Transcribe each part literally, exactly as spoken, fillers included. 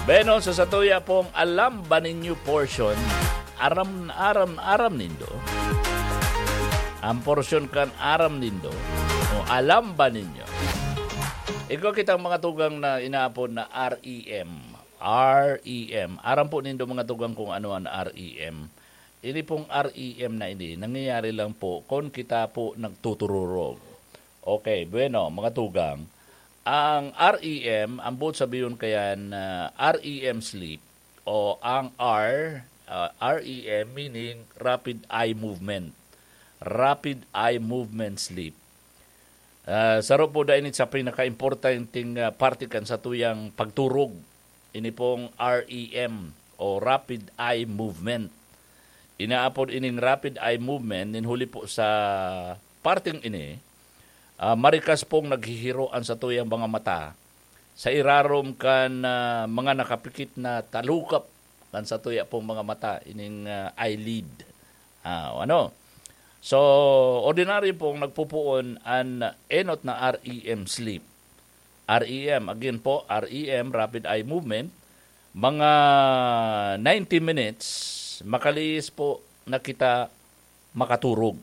Bueno, sa satuya pong Alam Ba Ninyo portion, aram, aram, aram nindo? Ang portion kan Aram Nindo, o Alam Ba Ninyo? Igwa kitang mga tugang na inaapod na R E M. R E M. Aram po nindo, mga tugang, kung ano ang R E M. Ini pong R E M na ini, nangyayari lang po kung kita po nagtutururog. Okay, bueno, mga tugang. Ang R E M, ang buot sabiyon kayan, ah, R E M sleep, o ang R, ah, R E M, meaning rapid eye movement. Rapid eye movement sleep. Ah, saro po da ini sa pinaka-importanteng, ah, parte kan satuyang pagturog. Ini pong R E M o rapid eye movement. Inaapod ining rapid eye movement nin huli po sa parteng ini, ah, marikas pong naghihiro an satuyang mga mata sa irarom kan, ah, mga nakapikit na talukap kan satuya pong mga mata, ining, ah, eyelid. Ah, o ano? So, ordinaryo pong nagpupuon an enot na R E M sleep. R E M, again po, R E M, rapid eye movement, mga ninety minutes, makalihis po na kita makaturog.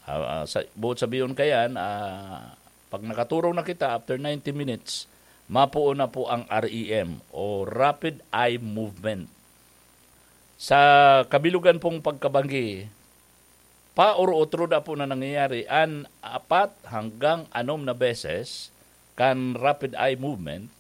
Ah, ah, sa, buot sabiyon kayan, ah, pag nakaturog na kita, after ninety minutes, mapuon na po ang R E M o rapid eye movement. Sa kabilugan pong pagkabanggi, paoro-otro da po na nangyayari an apat hanggang anom na beses kan rapid eye movement,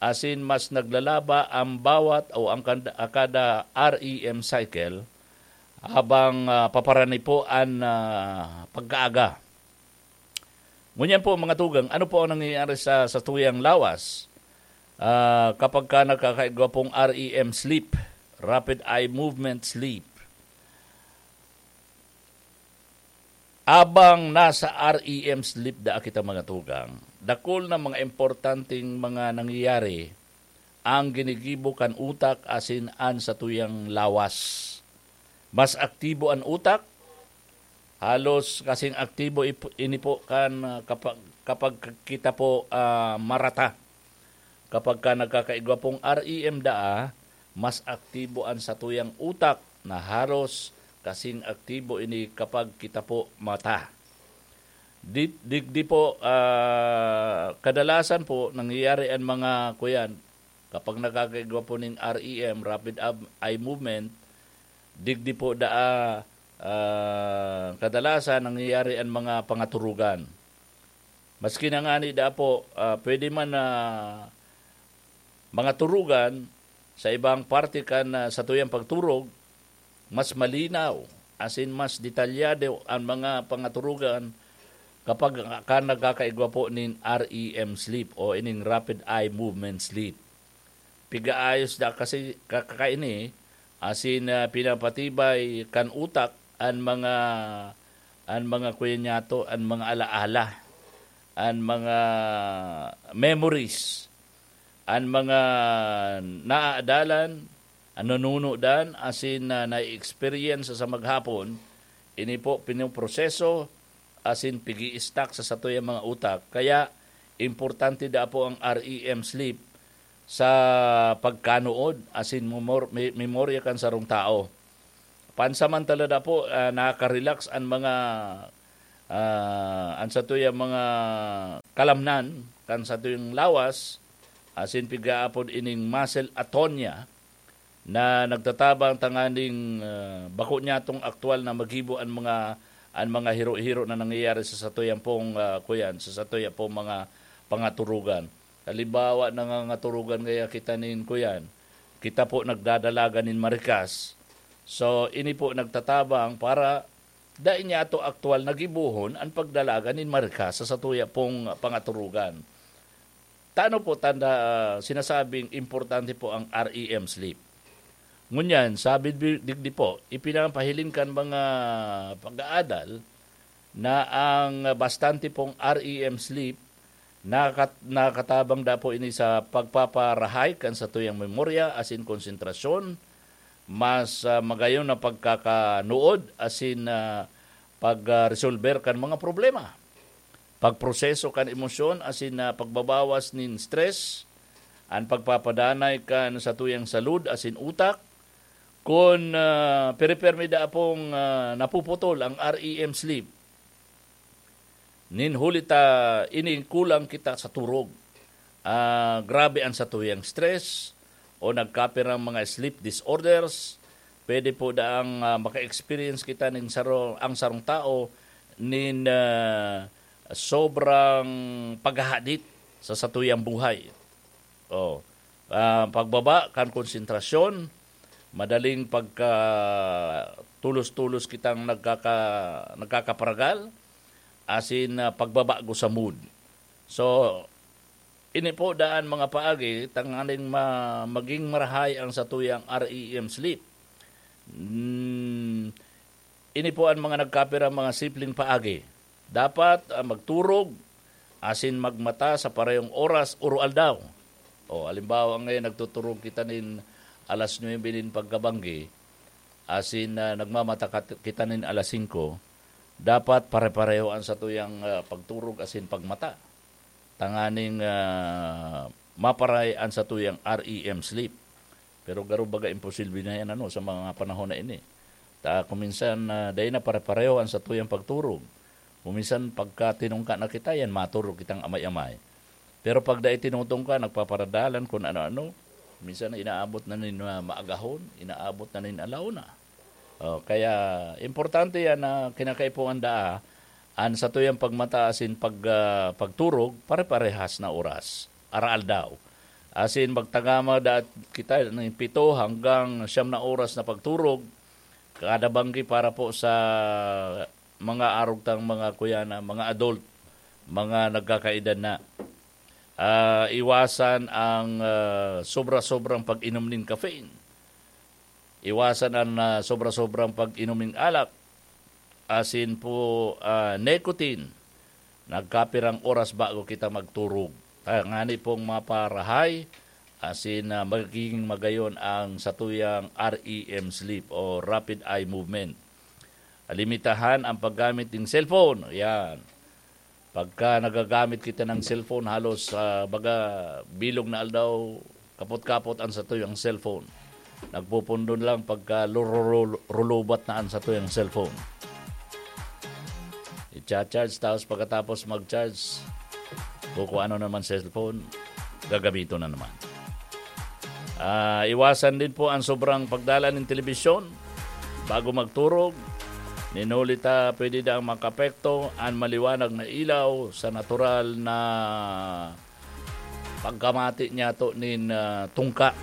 asin mas naglalaba ang bawat o ang kanda-, kada R E M cycle habang, ah, paparani po an, ah, pagkaaga. Ngunyan po, mga tugang, ano po ang nangyayari sa, sa tuyang lawas? Ah, kapag ka nagkakaigwa pong R E M sleep, rapid eye movement sleep, abang nasa R E M sleep daa kita, mga tugang, dakul na mga importanteng mga nangyayari ang ginigibo kan utak asin an satuyang lawas. Mas aktibo an utak, halos kasing aktibo ip-, ini po kan, ah, kapag, kapag kita po, ah, marata. Kapag ka nagkakaigwa pong R E M daa, mas aktibo an satuyang utak na halos kasing aktibo ini kapag kita po mata. Di, digdi po, ah, kadalasan po nangyayari an mga kuyan, kapag nakakaigwa po ning R E M, rapid ab-, eye movement, digdi po daa, ah, kadalasan nangyayari an mga pangaturugan. Maski na ngani daa po, ah, pwede man na mga turugan sa ibang parte kan, ah, satuyang pagturog, mas malinaw, asin mas detalyado an mga pangaturugan kapag ka nagkakaigwa po nin R E M sleep o ining rapid eye movement sleep. Pigaayos da kasi ka-, kakaini, asin, ah, pinapatibay kan utak an mga, an mga kuya niyato, an mga alaala, an mga memories, an mga naaadalan, an nanunudan, asin na nai-experience sa maghapon, ini po pinoproseso asin pigi-stock sa satuyang mga utak. Kaya, importante daa po ang R E M sleep sa pagkanuod asin memor-, me-, memorya kan sarong tao. Pansamantala daa po, ah, nakaka-relax an mga, ah, an satuyang mga kalamnan kan satuyang lawas, asin pigaapod ining muscle atonia, na nagtatabang tanganing, ah, bako niyatong aktual na magibo an mga, an mga hiro-hiro na nangyayari sa satuyang pong, ah, kuyan, sa satuyang pong mga pangaturugan. Halimbawa, nangangaturugan kaya kita nin kuyan, kita po nagdadalagan nin marikas. So, ini po nagtatabang para dai niyato aktual na gibohon an pagdalagan nin marikas sa satuya pong pangaturugan. Tano po tanda, ah, sinasabing importante po ang R E M sleep? Ngunyan, sabi di-, digdi po, ipinapahiling kan mga pag-aadal na ang bastante pong R E M sleep, nakat-, nakatabang da po ini sa pagpaparahay kan satuyang memorya asin konsentrasyon, mas, ah, magayon na pagkakanuod asin, ah, pag, ah, resolber kan mga problema, pagproseso kan emosyon asin, ah, pagbabawas nin stress, an pagpapadanay kan satuyang salud asin utak. Kun, ah, piripirmi da apong, ah, napuputol ang R E M sleep, nin huli ta ini kulang kita sa turog. Ah, grabe an satuyang stress o nagkapirang mga sleep disorders, pwede po daang, ah, maka-experience kita nin saro-, ang sarong tao nin, ah, sobrang paghahadit sa satuyang buhay. Oh, ah, pagbaba kan konsentrasyon, madaling pagka tulos-tulos kitang nagkaka-, nagkakaparagal, asin, ah, pagbabago sa mood. So, ini po daan mga paagi, tanganing ma-, maging marahay ang satuyang R E M sleep. Mm, ini po ang mga nagkapira mga simpleng paagi. Dapat, ah, magturog asin magmata sa parehong oras oro aldaw. O, halimbawa, ngayon nagtuturog kita nin alas nuebe nin pagkabanggi, asin, ah, nagmamata kat-, kita nin alas singko, dapat pare-pareho an satuyang, ah, pagturog asin pagmata. Tanganing, ah, maparay an satuyang R E M sleep. Pero garo baga imposible na yan, ano, sa mga panahon na ini. Ta, kuminsan, ah, dai na pare-pareho an satuyang pagturog. Kuminsan, pagka tinungka na kita, yan, maturog kitang amay-amay. Pero pag dai tinutungka, nagpaparadalan kun ano-ano, minsan inaabot na nin, ah, maagahon, inaabot na nin alauna. Oh, kaya importante yan na kinakaipuhan daa an satuyang pagmata asin pag, ah, pagturog, pare-parehas na oras, araaldaw. Asin magtagama daat kita nin pito hanggang siyam na oras na pagturog, kada banggi para po sa mga arog tang mga kuya na, mga adult, mga nagkakaedad na. Ah, iwasan ang, ah, sobra-sobrang pag-inom nin caffeine. Iwasan an, ah, sobra-sobrang pag-inom nin alak, asin po, ah, nicotine. Nagkapirang oras bago kita magturog. Tangani pong maparahay, asin, ah, magiging magayon ang satuyang R E M sleep o rapid eye movement. Limitahan ang paggamit ng cellphone. Yan. Pagka nagagamit kita ng cellphone, halos, ah, baga, bilog na aldaw, kapot-kapot ang satuyang cellphone. Nagpupundon lang pagka lururul-, rulubat na ang satuyang cellphone. I-charge, tapos pagkatapos mag-charge, kung ano naman cellphone, gagamiton na naman. Ah, iwasan din po ang sobrang pagdala ng telebisyon bago magturog. Nin huli ta, pwede daang makapekto an maliwanag na ilaw sa natural na pagkamati niyato nin, ah, tungka.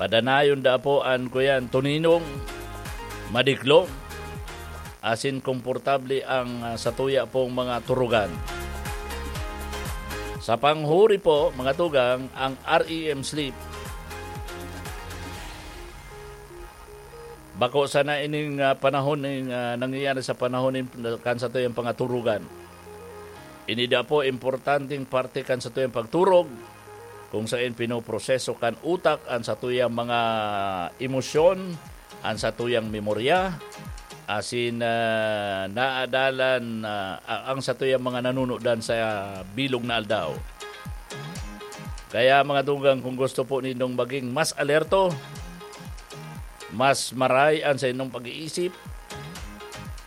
Padanayon da po an kuyan tuninong, madiklo, asin komportable ang, ah, satuya pong mga turugan. Sa panghuri po, mga tugang, ang R E M sleep, bako sana ining, ah, panahon ning, ah, nangyayari sa panahon nin, kan satuyang pangaturugan. Ini da po importanteng parte kan satuyang pagturog, kung saen pinoproseso kan utak an satuyang mga emosyon, an satuyang memorya, asin, ah, naadalan, ah, a-, ang satuyang mga nanunudan sa bilog na aldaw. Kaya, mga tugang, kung gusto po nindong maging mas alerto, mas maray an saindong pag-iisip,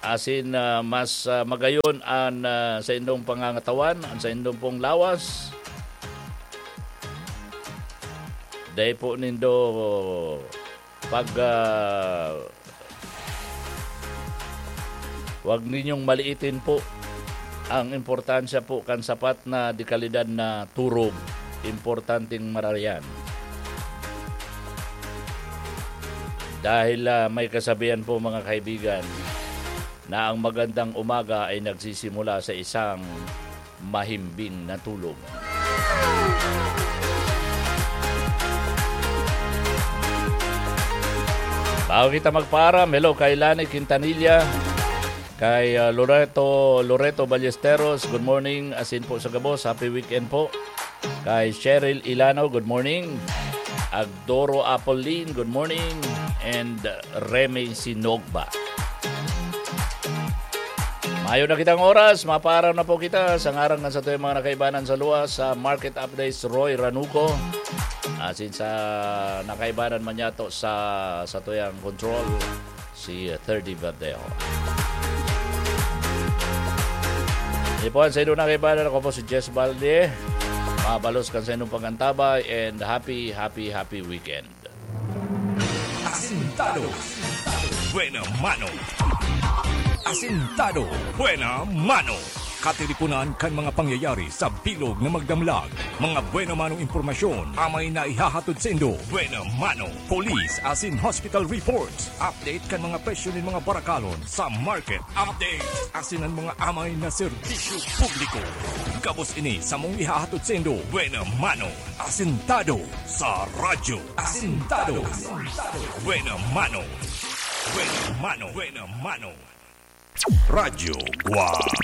asin, ah, mas, ah, magayon an, ah, saindong pangangatawan, an saindong pong lawas, dai po nindo pag, ah, wag ninyong maliitin po ang importansya po kan sapat na dekalidad na turog. Importanteng marayan. Dahil, ah, may kasabihan po, mga kaibigan, na ang magandang umaga ay nagsisimula sa isang mahimbing na tulog. Bago kita magpaaram, hello kay Lani Quintanilla, kay, ah, Loreto, Loreto Ballesteros, good morning, asin po sa gabos, happy weekend po. Kay Cheryl Ilano, good morning. Agdoro Apolin, good morning. And, uh, Remy Sinogba. Ayon na kitang oras, mapaaraw na po kita. Sa ngaran kan satuyang mga nakaibanan sa luwas, sa Market Updates, Roy Ranuco. Asin sa nakaibanan man yato sa satuyang control, si Thirty Verdejo. Ini po ang sa inyo nakaibanan. Ako po si Jess Balde. Mabalos kan sa inyong pag-antabay and happy, happy, happy weekend. Asintado. Buena mano. Asintado. Buena mano. Katiriponan kan mga pangyayari sa bilog na magdamlag. Mga buena manong impormasyon amay na ihahatod saindo. Buena mano. Police asin hospital reports. Update kan mga presyo nin mga barakalon sa market. Update asin an mga amay na serbisyo publiko. Gabos ini samong ihahatod saindo. Buena mano. Asintado sa radyo. Asintado. Buena mano. Buena mano. Buena mano. Radyo Guan.